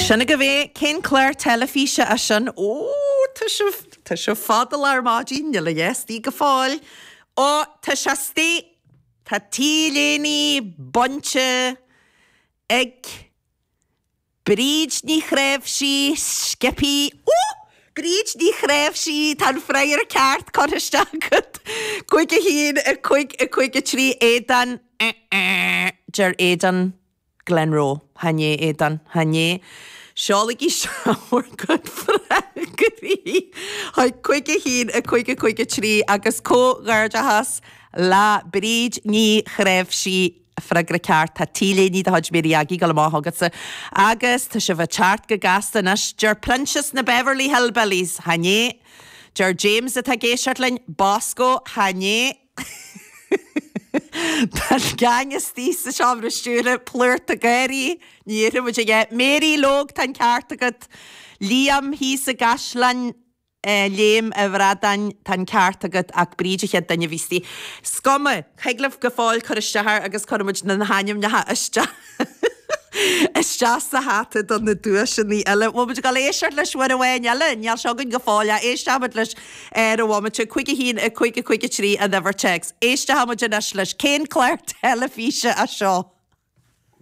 Sin agaibh é, cén clár teilifíse é sin? Ó, tá sibh, tá sibh fada ar maidin, níl a dhath istigh go fóill. Ó, tá sé istigh! Tá T-léine bainte ag Bríd Ní Chnáimhsí, sciobthaí. Ó! Bríd Ní Chnáimhsí, tá an freagra ceart curtha isteach agat. 5, 1, 5, 5, 3, Aodán, eh, eh, deir Aodán. Glenroe, Chan é, Aodán, chan é. Seolaigí isteach bhur gcuid freagraí chuig 5 1 5 5 3 agus comhghairdeachas le Bríd Ní Chnáimhsí, freagra ceart, tá T-léine de chuid Mary Aggie ag dul amach agatsa agus tá sibh ag teacht go gasta anois. Deir Proinsias na Beverly Hillbillies, chan é. Deir James atá ag éisteacht linn, Bosco, chan é. Tá an geaing istigh sa seomra stiúrtha, plúrta gáirí, ní dhéarfaidh muid a dhath. Mary Lóg, tá an ceart agat. Liam thíos i gCaisleán Léim a' Bhradáin, tá an ceart agat ach Bríd an chéad duine a bhí istigh. Is cuma, thig libh go fóill cur isteach air agus cuirfidh muid na hainmneacha isteach. isteach sa hata do na duaiseanna eile. Bhfuil muid ag dul éisteacht leis uair amháin eile? Níl sé againn go fóill ach éisteoidh muid leis ar an bhomaite. 5 1 5 5 3 an uimhir téacs. Éisteoidh muid anois leis. Cén clár teilifíse é seo?